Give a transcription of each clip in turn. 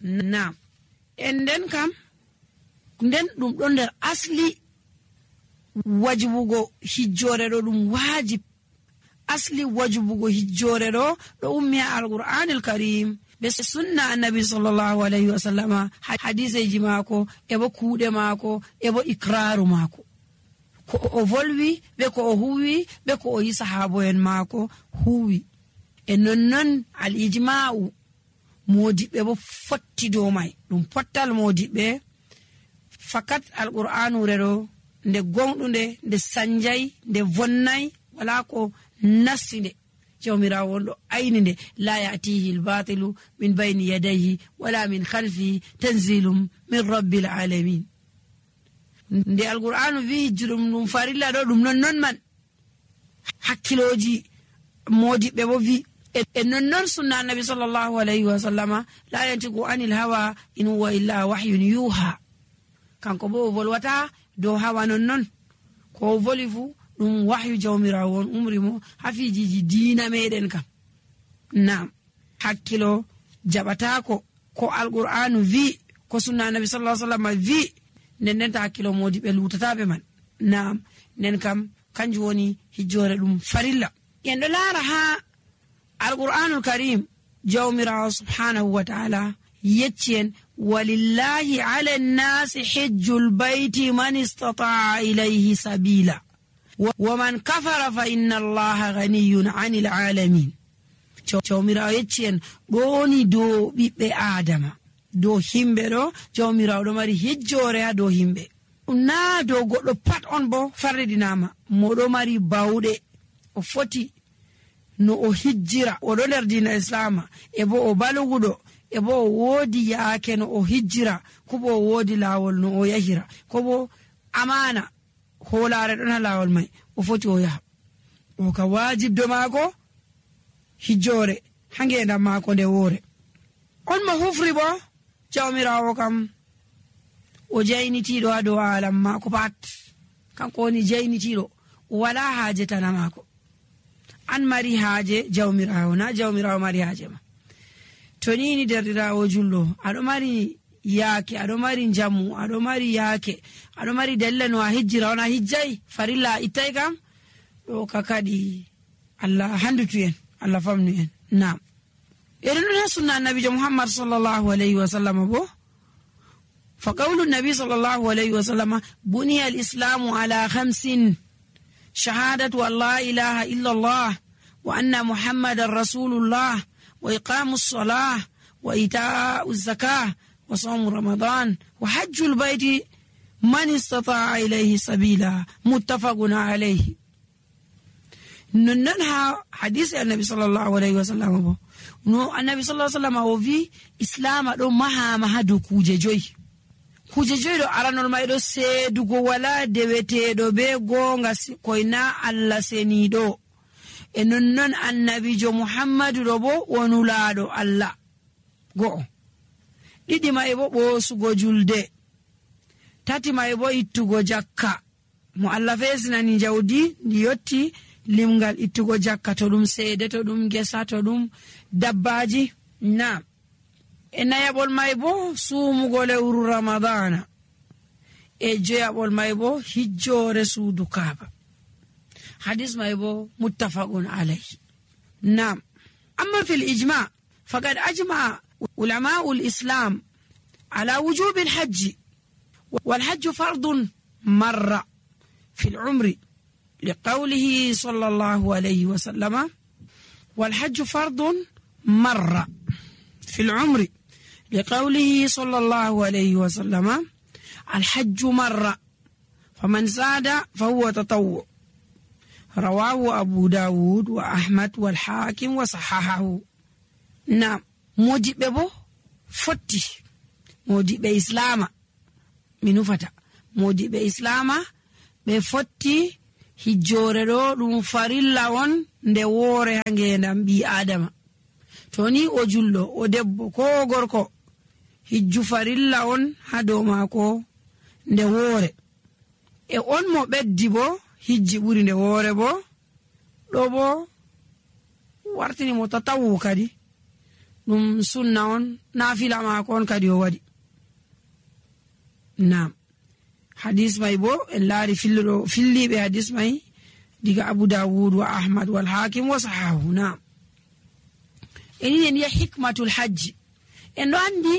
Naam. Nden kam nden ɗum ɗon nder asli wajibugo hijjore ɗo ɗum wajib. Asli wajibugo hijjore ɗo ummi al-Qur'anil Karim be sunna annabi sallallahu alaihi wasallama, hadiseji maako ebo kuuɗe maako ebo ikraru maako, ko o volwi be ko o huwi be ko o yi sahabo'en maako huwi. E nonnon al-ijma'u modiɓɓe bo fotti dow mai. Ɗum pottal modiɓɓe fakat al-Qur'anure ɗo nde gonɗunde, nde sanjay, nde vonnay, wala ko nassi nde. Jawmirawo won ɗo ayni nde la ya'tihi al-batilu min bayni yadayhi wala min khalfihi tanzilum min rabbil alamin. Nde al-Qur'anu wi hijjuɗum ɗum farilla ɗo ɗum non man hakkiloji modiɓɓe bo wi. E nonnon sunna annabi sallallahu alaihi wa sallama la yantiqu anil hawa in huwa illa wahyun yuha. Kanko bo o volwata dow hawa nonnon, ko o voli fu ɗum wahyu jawmirawo on umri mo hafijiji diina meɗen kam. Naam, hakkilo jaɓatako ko al-Qur'anu vi, ko sunna annabi sallallahu alaihi wa sallama vi, nden ta hakkilo modiɓe lutataɓe man. Naam, nden kam kanjum woni hijjore ɗum farilla. En ɗo laara ha al-Qur'anul Karim jawmirawo subhanahu wa ta'ala yecci en walillahi ala nnasi hijjul bayti man istata'a ilayhi sabila wa man kafara fa inna allaha ghaniyun 'anil 'alamin. Jawmirawo yecci en ɗoni dow ɓiɓɓe adama, dow himɓe ɗo jawmirawo ɗo mari hijjore ha dow himɓe. Na dow goɗɗo pat on bo farridinama, moɗo mari bawɗe, o foti no o hijjira, o ɗo nder dina islama, e bo o baluguɗo, e bo o woodi yaake no o hijjira, ko bo o woodi laawol no o yahira, ko bo amana hoolare ɗon ha laawol mai o foti o yaha. O ka wajibdo maako hijjore ha ngendam maako nde woore. On mo hufri bo jawmirawo kam o jaynitiɗo ha dow alam maako pat, kanko woni jaynitiɗo, o wala haaje tana maako. An mari haaje jawmirawo, na jawmirawo mari haaje ma. To ni derdirawo julɗo, aɗo mari yaake, aɗo mari jamu, aɗo mari yaake, aɗo mari dalila no a hijjira on a hijjay farilla a ittay kam, ɗo ka kadi Allah handutu en, Allah famnu en. Naam. Eɗen ɗon ha sunna annabijo Muhammad sallallahu alaihi wa sallam bo, fa qawlu nabi sallallahu alaihi wa sallam buniya al-islamu ala khamsin: shahadatu an la ilaha illa Allah wa anna Muhammadan rasulullah wa iqamus salah wa ita'uz zakah wa sawm ramadan wa hajjul bayti man istata'a ilayhi sabila, muttafaqun alayhi. Nonnon ha hadisi annabi sallallahu alaihi wa sallam bo no annabi sallallahu alaihi wa sallam o vi islama ɗo mahama ha dow kuje joyi. Kuje joyi ɗo aranol mai ɗo seedugo wala deweteɗo be gonga koyna Allah seniɗo. E nonnon annabijo Muhammadu ɗo bo wonulaɗo Allah go'o. Ɗiɗi mai bo ɓosugo julde. Tati mai bo ittugo jakka. Mo Allah fesinani jawdi ndi yotti limgal ittugo jakka, to ɗum seede, to ɗum gesa, to ɗum dabbaji. Naam. E nayaɓol mai bo suumugo lewru ramadana. E joyaɓol mai bo hijjore suudu Kaaba. Hadis mai bo muttafaqun alayhi. Naam. Amma fil ijma faqad ajma ulama'u al-islam ala wujubi al-hajj wal hajj fardun marra fil umri liqawlihi sallallahu alayhi wa sallama wal hajj fardun marra fil umri لقوله صلى الله عليه وسلم الحج مرة فمن زاد فهو تطوع. رواه أبو داود وأحمد والحاكم وصححه. نعم. موجب بو فتي موجب إسلام منو فتا موجب إسلام بفتي hijjore ɗo ɗum farilla on nde woore ha ngendam ɓi adama. Toni o julɗo, o debbo, ko o gorko, hijju farilla on ha dow maako nde woore. E on mo ɓeddi bo hijji ɓuri nde woore bo, ɗo bo wartini mo tatawu kadi, ɗum sunna on nafila maako on kadi o waɗi. Naam, hadis mai bo en laari filliɓe hadis mai diga Abu Dawud wa Ahmad wal Hakim wa sahahu. Naam, en yi'a hikmatul hajji. En ɗo andi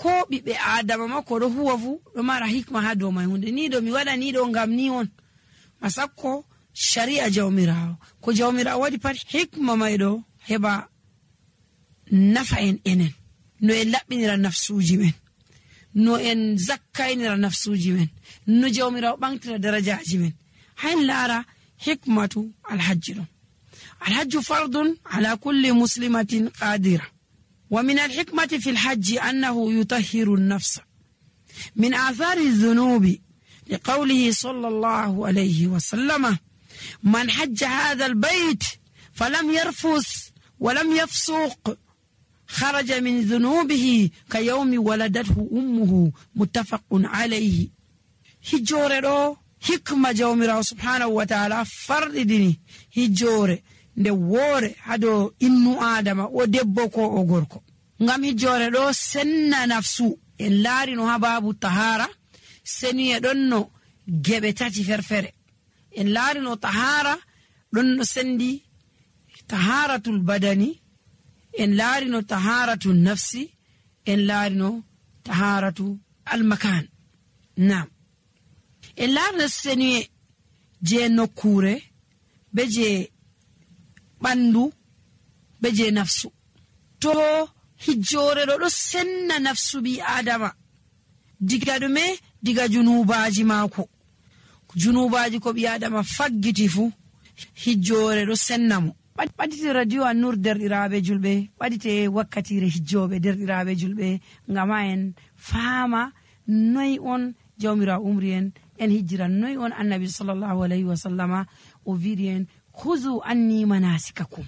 ko ɓiɓɓe adama makko ɗo huwa fu ɗo mara hikma ha dow mai. Hunde ni ɗo mi waɗa ni ɗo ngam ni on, masakko sharia jawmirawo, ko jawmirawo waɗi pat hikma mai ɗo heɓa nafa en enen, no en laɓɓinira nafsuji men, no en zakkaynira nafsuji men, no jawmirawo ɓamtira darajaji men. hayn laara hikmatu alhajji ɗon. alhajju fardun ala kulli muslimatin qadira. ومن الحكمة في الحج أنه يطهر النفس من آثار الذنوب لقوله صلى الله عليه وسلم: من حج هذا البيت فلم يرفث ولم يفسق خرج من ذنوبه كيوم ولدته أمه. متفق عليه. hijjore ɗo hikma jawmirawo subhanahu wa ta'ala farɗidini hijjore nde woore hado innu adama o debbo ko o gorko, ngam hijjore ɗo senna nafsu. en laari no ha babu tahara seni e ɗon no geɓe tati ferfere. en laari no tahara ɗon no sendi taharatul badani, en laari no taharatul nafsi, en laari no taharatu almakan. Naam, en laari no seni je nokkure be je ɓandu be je nafsu. to hijjore ɗo senna nafsu bi adama diga ɗume? diga junubaji maako. junubaji ko bi adama faggiti fu hijjore ɗo senna mo. ɓaɗite radio An-Nur derɗiraɓe julɓe, ɓaɗite wakkatire hijjoɓe derɗiraɓe julɓe, ngam ha en faama noy on jawmirawo umri en hijjira, noy on annabi sallallahu alayhi wa sallama o wiiri en: khuzu anni manasikakum.